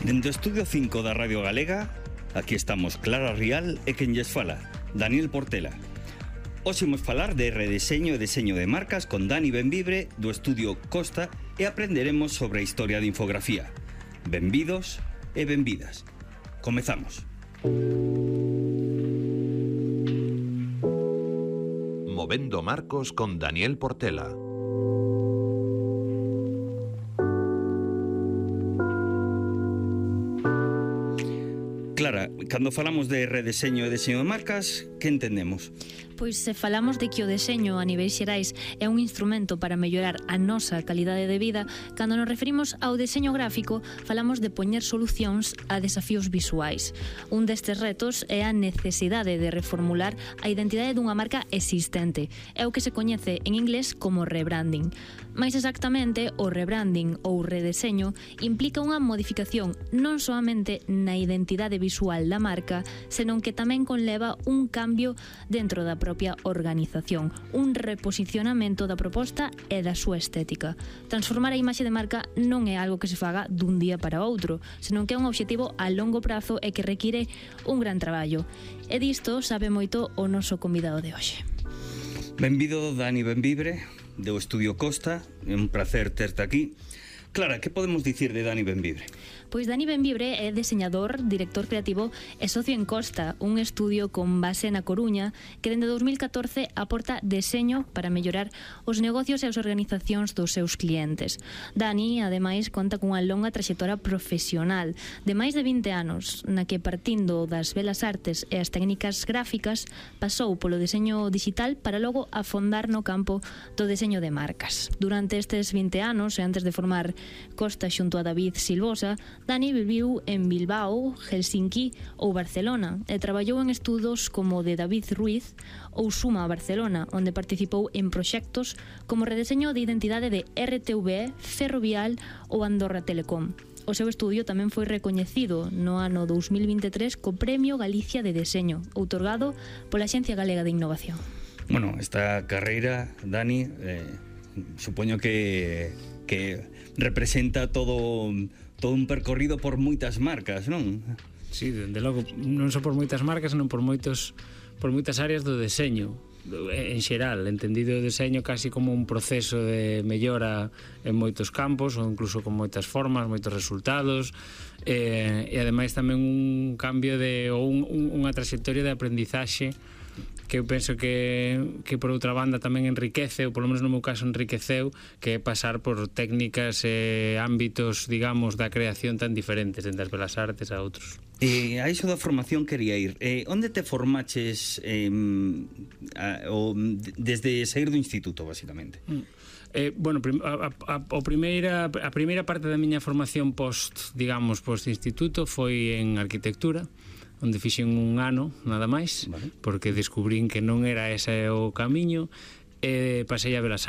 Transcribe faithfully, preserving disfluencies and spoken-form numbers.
Dende o Estudio cinco da Radio Galega, aquí estamos Clara Rial e quen lles fala, Daniel Portela. Hoxe imos falar de redeseño e deseño de marcas con Dani Benvibre do Estudio Costa e aprenderemos sobre a historia de infografía. Benvidos e benvidas. Comezamos. Movendo Marcos con Daniel Portela. Clara, cando falamos de redeseño e deseño de marcas, que entendemos? Pois se falamos de que o deseño a niveis xerais é un instrumento para mellorar a nosa calidade de vida, cando nos referimos ao deseño gráfico, falamos de poñer solucións a desafíos visuais. Un destes retos é a necesidade de reformular a identidade dunha marca existente. É o que se coñece en inglés como rebranding. Mais exactamente, o rebranding ou redeseño implica unha modificación non soamente na identidade visual da marca, senón que tamén conleva un cambio dentro da propia organización, un reposicionamento da proposta e da súa estética. Transformar a imaxe de marca non é algo que se faga dun día para outro, senón que é un obxectivo a longo prazo e que require un gran traballo. E disto sabe moito o noso convidado de hoxe. Benvido, Dani Benvibre, do Estudio Costa, é un placer terte aquí. Clara, que podemos dicir de Dani Benvibre? Pois Dani Benvibre é deseñador, director creativo e socio en Costa, un estudio con base na Coruña que dende dous mil catorce aporta deseño para mellorar os negocios e as organizacións dos seus clientes. Dani, ademais, conta cunha longa traxectoria profesional de máis de vinte anos, na que partindo das belas artes e as técnicas gráficas pasou polo deseño digital para logo afondar no campo do deseño de marcas. Durante estes vinte anos, e antes de formar Costa xunto a David Silvosa, Dani viviu en Bilbao, Helsinki ou Barcelona e traballou en estudos como o de David Ruiz ou Suma Barcelona, onde participou en proxectos como redeseño de identidade de R T V E, Ferrovial ou Andorra Telecom. O seu estudio tamén foi recoñecido no ano dous mil vinte e tres co Premio Galicia de Deseño, outorgado pola Axencia Galega de Innovación. Bueno, esta carreira, Dani, eh, supoño que, que representa todo... todo un percorrido por moitas marcas, non? Sí, dende logo, non só por moitas marcas, senón por moitos por moitas áreas do deseño en xeral, entendido o deseño casi como un proceso de mellora en moitos campos ou incluso con moitas formas, moitos resultados e, e ademais tamén un cambio de ou un, un, unha trayectoria de aprendizaxe que eu penso que, que por outra banda tamén enriquece, ou polo menos no meu caso enriqueceu, que é pasar por técnicas e ámbitos, digamos, da creación tan diferentes, entre as belas artes a outros. Eh, a iso da formación quería ir. Eh, onde te formaches eh, a, o, desde sair do instituto, basicamente? Mm. Eh, bueno, a, a, a, primeira, a primeira parte da miña formación post, digamos, post instituto foi en arquitectura, onde fixen un ano, nada máis, vale, porque descubrín que non era ese o camiño, e pasei a Belas